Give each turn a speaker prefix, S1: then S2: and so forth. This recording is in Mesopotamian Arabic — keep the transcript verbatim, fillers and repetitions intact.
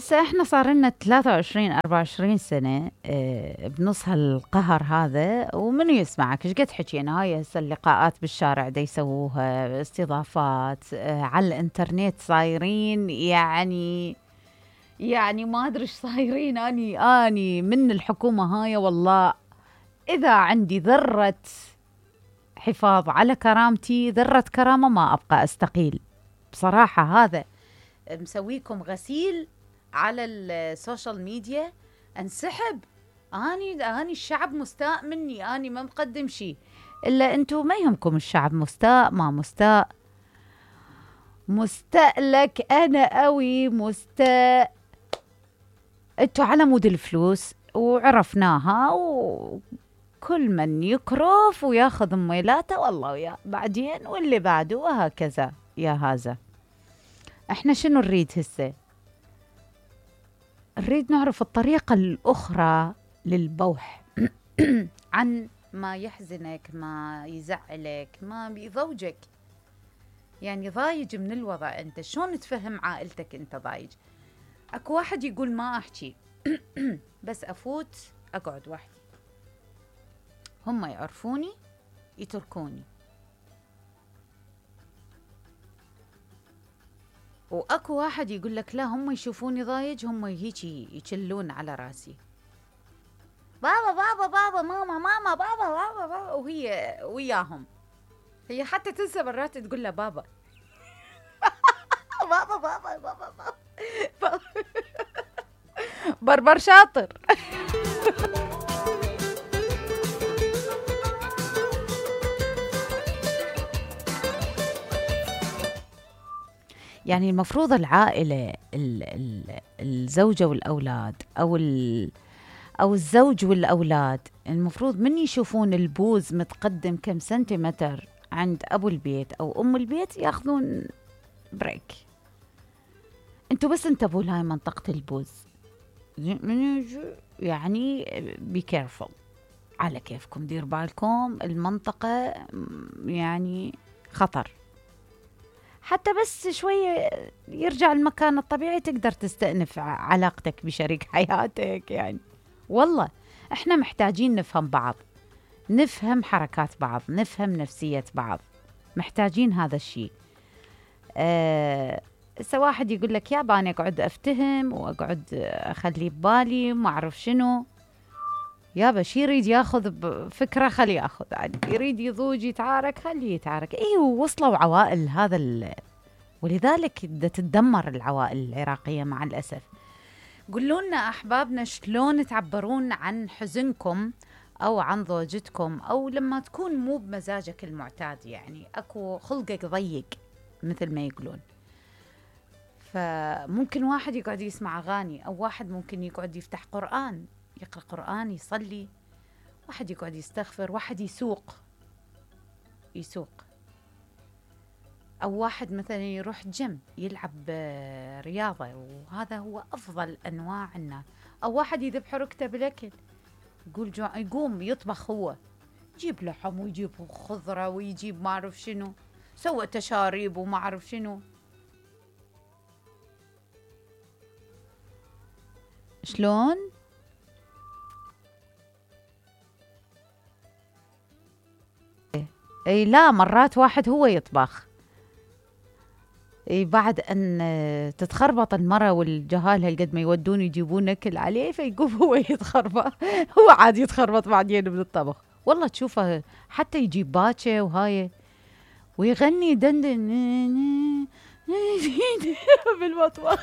S1: هسه احنا صار لنا ثلاثة وعشرين أربعة وعشرين سنة اه بنص هالقهر هذا، ومنو يسمعك؟ ايش قد حكينا؟ هاي هسه اللقاءات بالشارع دا يسووها استضافات اه على الانترنت صايرين، يعني يعني ما ادري ايش صايرين. اني اني من الحكومة هاي والله اذا عندي ذرة حفاظ على كرامتي، ذرة كرامة، ما ابقى استقيل بصراحة. هذا مسويكم غسيل على السوشيال ميديا، انسحب. اني اني الشعب مستاء مني، اني ما مقدم شيء الا انتم. ما يهمكم الشعب مستاء ما مستاء، مستاء لك انا قوي مستاء. انتوا على مود الفلوس وعرفناها، وكل من يكرف وياخذ ميلاته والله وياه بعدين واللي بعده وهكذا. يا هذا احنا شنو نريد هسه؟ نريد نعرف الطريقة الأخرى للبوح عن ما يحزنك، ما يزعلك، ما بيضوجك. يعني ضايج من الوضع، انت شلون تفهم عائلتك انت ضايج؟ اكو واحد يقول ما احكي بس افوت اقعد وحدي، هم يعرفوني يتركوني. واكو واحد يقول لك لا، هم يشوفوني ضايج هم هيجي يشلون على راسي، بابا بابا بابا ماما ماما بابا بابا بابا، وهي وياهم. هي حتى تنسى مرات تقول له بابا بابا بابا بابا بابا بربر شاطر. يعني المفروض العائلة ال ال الزوجة والأولاد أو أو الزوج والأولاد، المفروض من يشوفون البوز متقدم كم سنتيمتر عند أبو البيت أو أم البيت ياخذون بريك. انتوا بس انتبهوا لهاي منطقة البوز، يعني بي كيرفول، على كيفكم، دير بالكم، المنطقة يعني خطر. حتى بس شوية يرجع المكان الطبيعي تقدر تستأنف علاقتك بشريك حياتك. يعني والله احنا محتاجين نفهم بعض، نفهم حركات بعض، نفهم نفسية بعض، محتاجين هذا الشيء. أه واحد يقول لك يابا أنا أقعد أفتهم وأقعد أخلي ببالي وما أعرف شنو. يابا شي يريد ياخذ بفكرة خليه ياخذ، يعني يريد يضوج يتعارك خليه يتعارك. ايه وصلوا عوائل هذا ال... ولذلك تتدمر العوائل العراقية مع الأسف. قولوا لنا أحبابنا شلون تعبرون عن حزنكم أو عن ضوجتكم، أو لما تكون مو بمزاجك المعتاد، يعني أكو خلقك ضيق مثل ما يقولون. فممكن واحد يقعد يسمع أغاني، أو واحد ممكن يقعد يفتح قرآن يقرأ قرآن يصلي، واحد يقعد يستغفر، واحد يسوق يسوق أو واحد مثلا يروح جيم يلعب رياضة، وهذا هو أفضل أنواع الناس. أو واحد يذبح ركته بالأكل، يقول جو... يقوم يطبخ، هو يجيب لحم ويجيب خضرة ويجيب ما أعرف شنو، سوى تشاريب وما أعرف شنو. شلون؟ اي لا، مرات واحد هو يطبخ. اي بعد ان تتخربط المرة والجهال هالقد ما يودون يجيبون اكل عليه، فيقوم هو يتخربط هو عاد يتخربط بعدين من الطبخ. والله تشوفه حتى يجيب باكة وهاي ويغني دندن بالمطبخ.